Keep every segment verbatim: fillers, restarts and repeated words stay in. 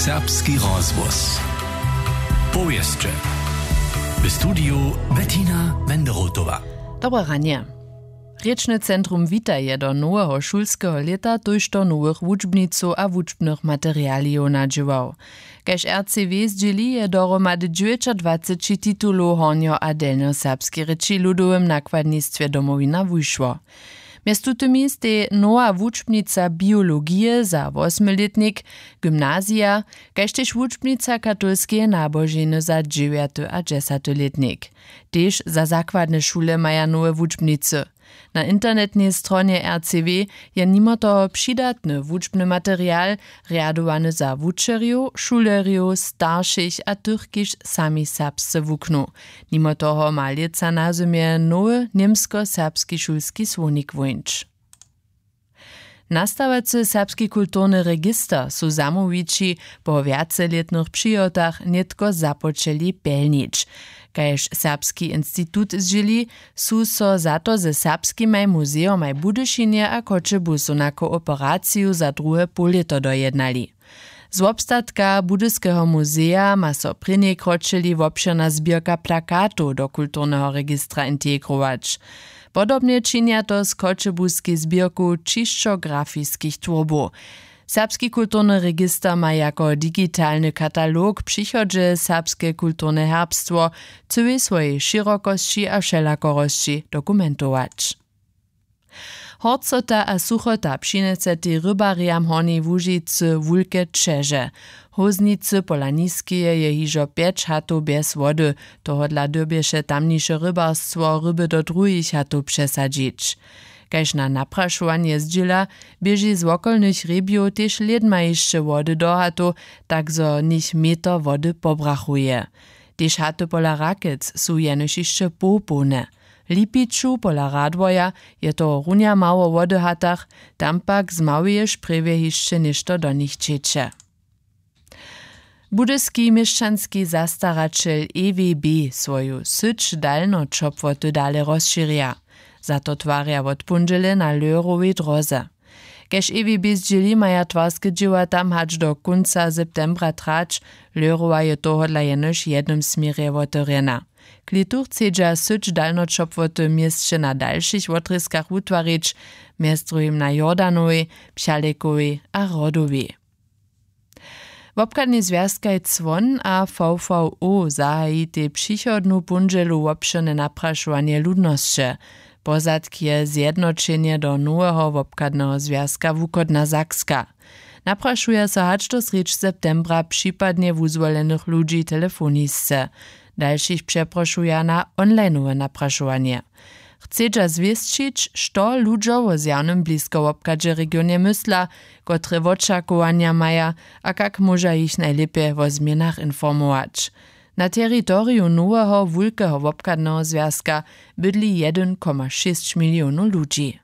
Serbski rozhłos. Powěsće. W studiju Bettina Wenderotowa. Dobre ranje. Rěčny centrum Wita je do noweho šulskeho lěta tójšto nowych wučbnicow a wučbnych materialijow nadźěłał. Kaž R C W zdźěli, je dohromady dźewjećadwaceći titulow hornjo- a delnjoserbskej rěči w ludowym nakładnistwje Domowina wušło. Mjez tutymi stej nowa wučbnica biologije za wosmylětnik, gymnazija, kaž tež wučbnica katolskeje naboženy za dźewjaty a dźesaty lětnik. Tež za zakładne šule maja nowe wučbnicy. Na internetnej stronje R C W je nimo toho přidatny wučbny material, rjadowany za wučerjow, šulerjow, staršich a tych, kiž sami serbsce wuknu. Nimo toho ma lětsa na zymje nowy němsko-serbski šulski słownik wóńć. Nastawacy serbski kulturny register su zamołwići po wjacelětnych přihotach nětko započeli pjelnić. Kaž Serbski institut zdźěli, su so za to ze serbskimaj muzejomaj w Budyšinje a Choćebuzu na kooperaciju za druhe połlěto dojednali. Z wobstatka Budyskeho muzeja ma so prěnjej kročili wobšěrna zběrka plakatow do kulturneho registra integrować. Podobnje činja to z choćebuskej zběrku ćišćografiskich twórbow. Serbski kulturny register ma jako digitalny katalog w přichodźe serbske kulturne herbstwo w cyłej swojej šěrokosći a wšelakorosći dokumentować. Horcota a suchota přinjesetej rybarjam Hornjeje Łužicy wulke ćeže. W Hóznicy pola Niskeje je hižo pjeć hatow bjez wody. Tohodla dyrbješe tamniše rybarstwo ryby do druhich hatow přesadźić. Kaž na naprašowanje zdźěla, běži z wokolnych hrjebjow tež lědma hišće wody do hatow, tak zo něch meter wody pobrachuje. Tež haty pola Rakec su jenož hišće połpołne. W Lipiću pola Radworja je tohorunja mało wody w hatach, tam pak z małeje šprjewje hišće něšto do nich ćeče. Budyski měšćanski zastaraćel E W B swoju syć dalnoćopłoty dale rozšěrja. Za to twarja wot póndźele na Lehrowej dróze. Kaž E W B zdźěli, maja twarske dźěła tam hač do kónca septembra trać. Lehrowa je tohodla jenož w jednym směrje wotewrjena. Klětu chcedźa syć dalnoćopłoty w měsće na dalšich wotrězkach wutwarić, mjez druhim na Jordanowej, Pchalekowej a Rodowej. Wobchadnej zwjazkaj Cwon a V V O zahajitej přichodnu póndźelu wobšěrne naprašowanje ludnosće. Pozadk je zjednoćenje do noweho wobchadneho zwjazka Wuchodna Sakska. Naprašuja so hač do srjedź septembra připadnje wuzwolenych ludźi telefonisce. Dalšich přeprošuja na onlineowe naprašowanje. Chcedźa zwěsćić, što ludźo wo zjawnym bliskowobchadźe w regionje mysla, kotre wočakowanja maja a kak móža jich najlěpje wo změnach informować. Na teritoriju noweho wulkeho wobchadneho zwjazka bydli jedyn koma šěsć milionow ludźi.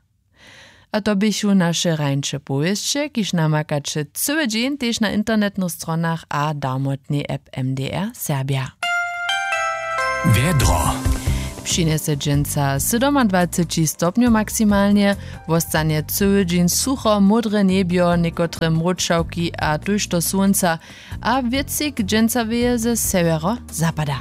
A to běchu naše rańše powěsće, kiž namakaće cyły dźeń tež na internetnych stronach a darmotnej app M D R Serbja. Wjedro. Přinjese dźensa sydomadwaceći stopnjow maksimalnje, wostanje cyły dźeń sucho, módre njebjo, někotre mróčawki a tójšto słónca, a wětřik dźensa wěje ze sewjerozapada.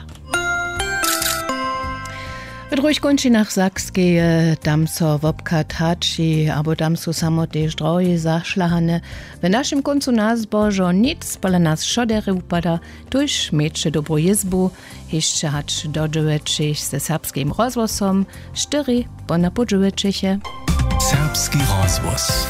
W druhich kónčinach Sakskeje, tam so wobchad haći, abo tam su samo tež drohi zašlahane. W našim kóncu na zbožo nic pola nas wšo derje wupada, tuž měće dobru jězbu, hišće hač do dźewjećich ze Serbskim rozhłosom, štyri ponapół dźewjećiche. Serbski rozhłos.